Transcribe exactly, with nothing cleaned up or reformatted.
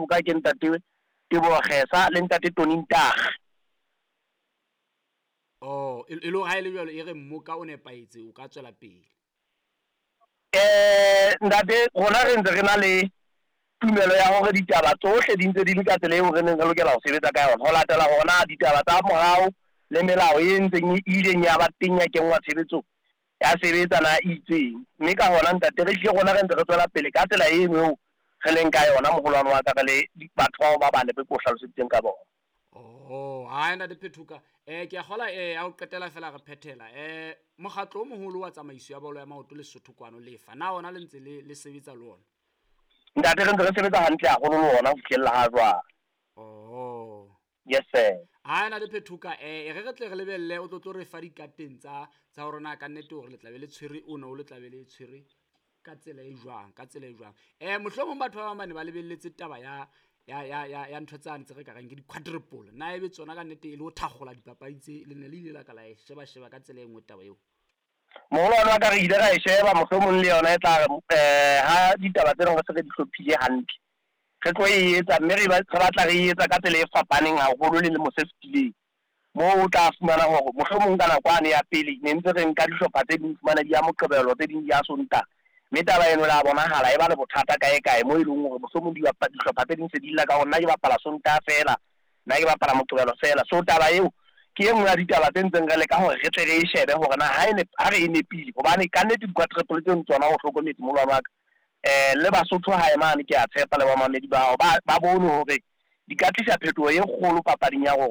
Ka ke ntate Teboho Kgesa le ntate Tony Ntag. Oh, e le hore ha e le jwalo e re mmoka o nepahetse o ka tswela pele. Eh ntate, rona re ntse re na le tumelo ya hore ditaba tsohle di ntse di le ka tsela eo re neng re lokela ho sebetsa ka yona. Ho latela hore na ditaba tsa morao le melao e ntseng e ileng ya ba teng ya kenngwa tshebetsong ya sebetsa na e itseng. Mme ka hona ntate re hlile rona re ntse re tswela pele ka tsela eno eo re leng ka yona moholwane wa ka, re le batho bao ba bane be ke o hlaloseditseng ka bona. Oh, ha ntate Phethoka, eh ke a kgola eh ya ho qetela fela re phethela. Eh mokgatlo o moholo wa tsamaiso ya bolo ya maoto Lesotho kwano lefa. Na ona le ntse le le sebetsa le ona? Ntate re ntse re sebetsa hantle haholo le ona ho fihlella ha jwale. Oh. Yes sir. Ha ntate Phethoka, eh re re tle re lebelle o tlo tlo re fa dikateng tsa tsa hore na ka nnete hore le tla be le tshwere o no le tla be le tshwere ka tsela e jwang, ka tsela e jwang. Eh mohlomong batho ba bang ba ne ba lebelletse taba ya ya ya ya ya ntho tsane tse re ka reng ke di-quadruple. Na ebe tsona ka nnete e le ho thakgola dipapadi tse le ne le ile la ka la e sheba sheba ka tsela e nngwe taba eo? Moholwane wa ka re ile ra e sheba, mohlomong le yona e tla re eh ha ditaba tsena re se re di hlophile hantle, re tlo e etsa mme re re batla re e etsa ka tsela e fapaneng haholo le lemo se fetileng. Moo o tla fumana hore mohlomong ka nako yane ya pele ne ntse re nka dihlopha tse ding fumana di ya Moqebelo, tse ding di ya Sontaha. Mme taba eno la bonahala e ba le bothata kae kae moo e leng hore mohlomong dihlopha tse ding se di lla ka hore nna ke bapala Sontaha feela, nna ke bapala Moqebelo feela. So taba eo ke e nngwe ya ditaba tse ntseng re leka hore re tle re e shebe hore na ha e ha re e nepile, hobane kannete di-quadruple tseno tsona o hlokometse moholwane wa ka. Eh le Basotho hae mane ke a tshepa le bamamedi ba hao ba ba bone hore di ka tlisa phetoho e kgolo papading ya rona.